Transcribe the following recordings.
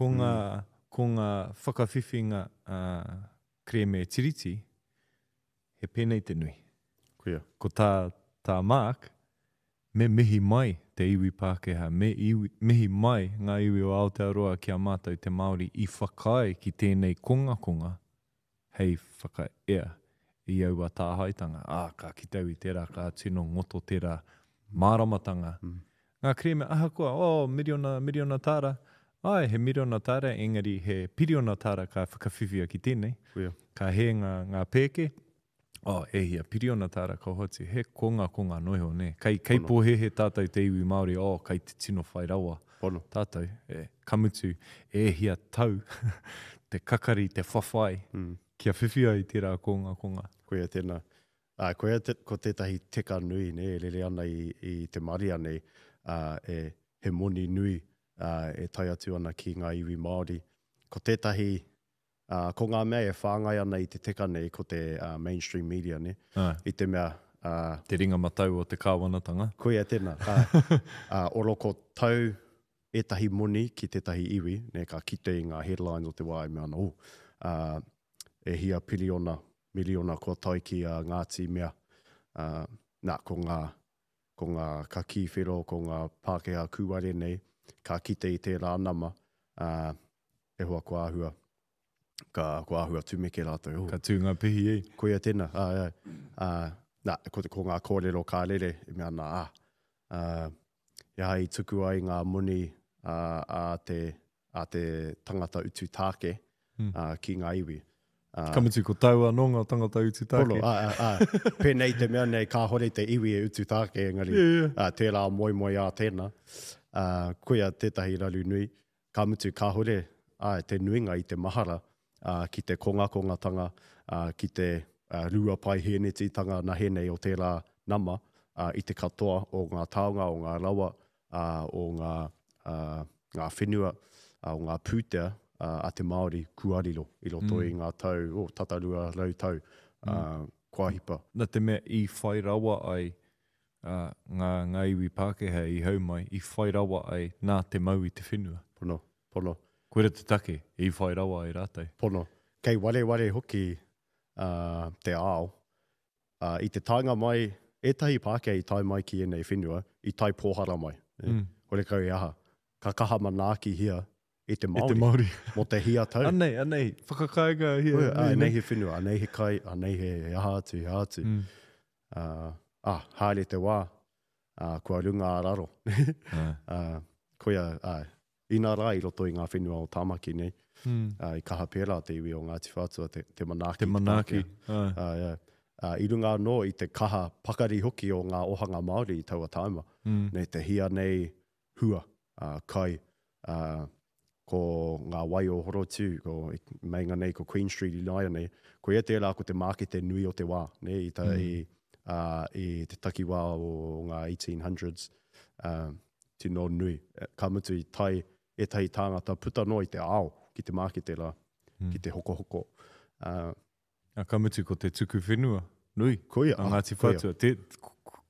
Ko ngā, ko ngā whakawhiwhinga kerēme Tiriti, he pēnei te nui. Koia. Ko tā, tā Mark, me mihi mai te iwi Pākehā, me iwi, mihi mai ngā iwi o Aotearoa ki a mātou te Māori i whakaae ki tēnei kongakonga hei whakaea i aua tāhaetanga, ā, ka kite au i tērā, ka tino ngoto tērā māramatanga. Ngā kerēme, ahakoa, oh, miriona, miriona tāra, āe, he miriona tāra, engari he piriona tāra ka whakawhiwhia ki tēnei, ka hē ngā, ngā pēke, oh, e hia piriona tāra ka hoatu, he kongakonga noa iho, nē. Kei, kei pōhēhē tātou te iwi Māori, oh, kei te tino whai rawa Pono. tātou, e, ka mutu, e hia tau te kakari, te whawhai, kia whiwhi ai tērā kongakonga. Koia tēnā. Ā, koia te, ko tētahi teka nui, nē, e rere ana i, i te marea nei, ā, e, he moni nui, ā, e tae atu ana ki ngā iwi Māori. Ko tētahi, ā, ko ngā mea e whāngai ana i te teka nei, ko te, ā, mainstream media, nē, i te mea, ā. Te ringa matau o te kāwanatanga. Koia tēnā, ā, ā, oroko tau ētahi moni ki tētahi iwi, nē, ka kite i ngā headlines o te wā e mea ana, oh, ā, e hia piriona, miriona kua tae ki a Ngāti Mea. Ā, nā, ko ngā, ko ngā kakī whero, ko ngā Pākehā kūare nei, ka kite i tērā nama, ā, e hoa kua āhua, ka, kua āhua tumeke rātou, oh. Ka tū ngā pihi e. Koia tēnā, āe, āe. Ā, nā, ko, ko ngā kōrero ka rere, e mea ana, ā, ā, he aha i tuku ai ngā moni a, a te, a te tangata utu tāke mm. ki ngā iwi. Ka mutu ko tāu anō ngā tangata utu tāke. Pono, ā, ā, ā. Pēnei te mea nei, kāhore te iwi e utu tāke, engari yeah, yeah. Ā, tērā moemoeā tēnā. Ā, koia tētahi raru nui. Ka mutu kāhore ā, te nuinga i te mahara ā, ki te kongakongatanga, ā, ki te ā, rua paihēnetitanga nahenei o tērā nama ā, i te katoa o ngā taonga, o ngā rawa, ā, o ngā, ā, ngā whenua, ā, o ngā pūtea ā, a te Māori kua riro i roto mm. i ngā tau, oh, tata 200 tau, ā, mm. kua hipa. Nā te mea i whai rawa ai ā, ngā, ngā iwi Pākehā i hau mai, i whai rawa ai nā te mau i te whenua. Pono, pono. Koira te take i whai rawa ai rātou. Pono. Kei wareware hoki ā, te ao Ā, i te taenga mai, ētahi Pākehā i tae mai ki ēnei whenua, i tae pōhara mai. Mm. Horekau e aha. Ka kaha manaakihia e te Māori. E te Māori. Mō te hia tau. Anei, anei, whakakainga hia. Oi, ā, anei he whenua, anei he kai, anei he, he aha atu, he aha atu. Mm. Ā, ā, haere te wā, ā, kua runga a raro. Ā, koia, ā, Inā rā i roto i ngā whenua o Tāmaki nei, mm. uh, i kaha pērā te iwi o Ngāti Whātua te, te manaaki. Te manaaki, āe. Uh, yeah. Uh, I runga anō i te kaha pakari hoki o ngā ohanga Māori i taua tāima. Mm. Nei te hia nei hua, uh, kai, uh, ko ngā wai o Horotiu, ko meinga nei ko Queen Street i nāianei, koia tērā ko te mākete nui o te wā, ne, i, ta, mm. i, uh, i te takiwā o ngā 1800s. Uh, tino nui. Ka mutu i tae ētahi tāngata puta noa i te ao ki te mākete rā, mm. ki te hokohoko. Uh, A, ka mutu ko te tuku whenua nui koia, a Ngāti Whātua. Te,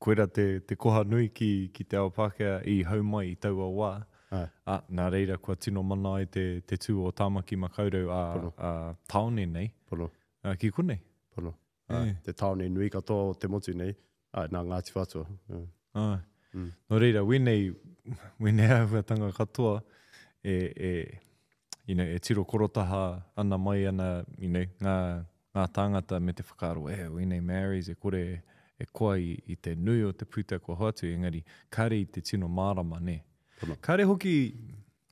koira te, te koha nui ki, ki te ao Pākehā i hau mai i taua wā. Ai. A, nā reira kua tino mana ai te, te tū o Tāmaki Makaurau a, a tāone nei. Pono. A, ki konei. Pono. Āe, te tāone nui katoa o te motu nei, āe, nā Ngāti Whātua. Āe. Mm. Nō reira, wēnei, wēnei āhuatanga katoa e, e, you know, e tiro korotaha ana mai ana, you know, ngā, ngā tāngata me te whakaaro, e, wēnei Maoris e kore e koa i, i te nui o te pūtea kua hoatu, engari kāre i te tino mārama, nē. Kāre hoki,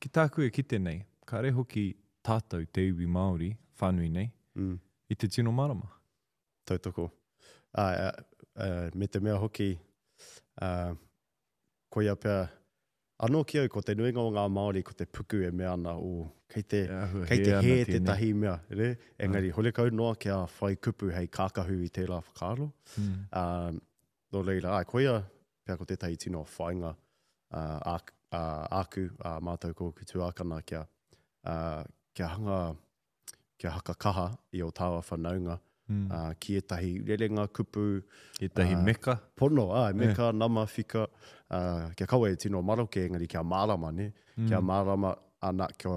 ki tāku e kite nei, kāre hoki tātou te iwi Māori whānui nei, mm. i te tino mārama. Tautoko. Ā, ā, me te mea hoki, ā, koia pea, anō ki au, ko te nuinga o ngā Māori ko te puku e mea ana, oh, kei te, kei te hē tētahi mea, re? Engari, horekau noa kia whai kupu hei kākahu i tērā whakaaro. Mm. Ā, nō reira, āe, koia pea ko tētahi tino whāinga ā, ā, āku, ā mātou ko ōku tuākana kia, ā, kia hanga kia hakakaha i ō tāua whanaunga mm. uh, ki ētahi rerenga kupu. Ētahi uh, meka. Pono, ā, meka, yeah. nama, whika, uh, kia kaua e tino maroke, engari kia mārama, ne? Mm. Kia mārama, ana, kia,